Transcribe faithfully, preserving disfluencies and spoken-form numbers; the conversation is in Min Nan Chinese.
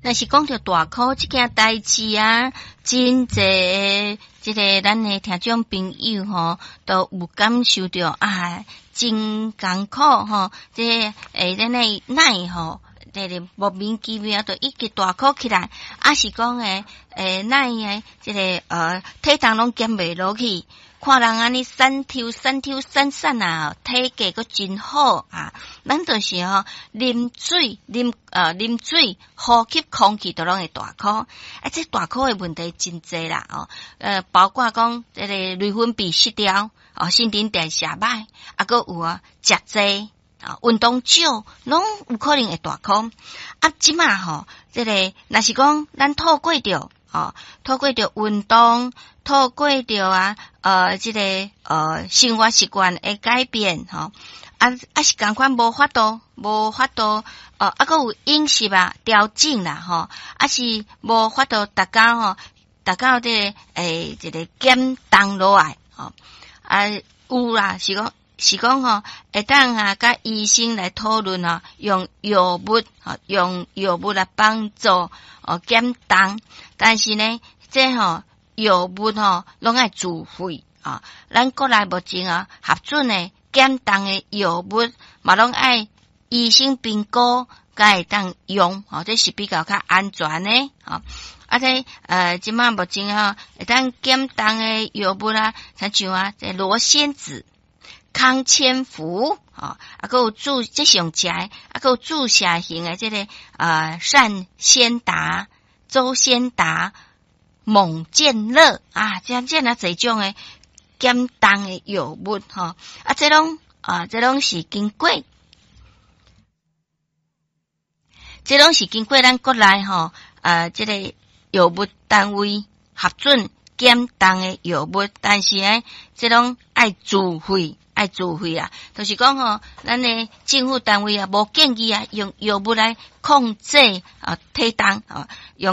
若是講著大箍這件代誌啊，真濟這个咱的聽眾朋友吼，都有感受著啊，真艱苦吼，這個欸咱的奶吼，這个莫名其妙就一直大箍起來，抑是講欸欸奶的這个呃體重攏減袂落去。看人按呢瘦抽瘦抽瘦瘦啊，體格閣真好啊！咱就是吼啉水啉呃啉水，呼吸空氣都攏會大箍。啊，這大箍的問題真濟啦哦，呃，包括講這個內分泌失調，哦，新陳代謝歹，啊，閣有啊，食濟啊，運動少，攏有可能會大箍。啊，這馬吼，這个若是講咱透過著哦，透過著運動。透過著啊，呃，這个呃生活習慣的改變，吼，啊啊是仝款無法度，無法度，呃，啊，閣有飲食啊調整啦，吼，啊是無法度達到吼，達到這个欸這个減重落來，吼，啊有啦，是講是講吼，會當啊，佮醫生來討論吼，用藥物，吼，用藥物來幫助哦減重，但是呢，這吼。藥物吼，攏愛自費啊！咱國內目前啊，核准的減重的藥物嘛，攏愛醫生評估，才會當用吼，這是比較較安全的吼。啊，這呃，這馬目前吼，會當減重的藥物啊，親像啊，這羅先子、康千福，吼，啊，閣有注這上食的，啊，閣有注射型的這个呃善先達、周先達。猛健樂啊，這這爾濟種的減重的藥物吼，啊，這攏啊，這攏是經過，這攏是經過咱國內吼，啊，這个藥物單位核准減重的藥物，但是呢，這攏愛自費，愛自費啊，就是講吼，咱的政府單位啊，無建議啊，用藥物來控制啊體重啊，用。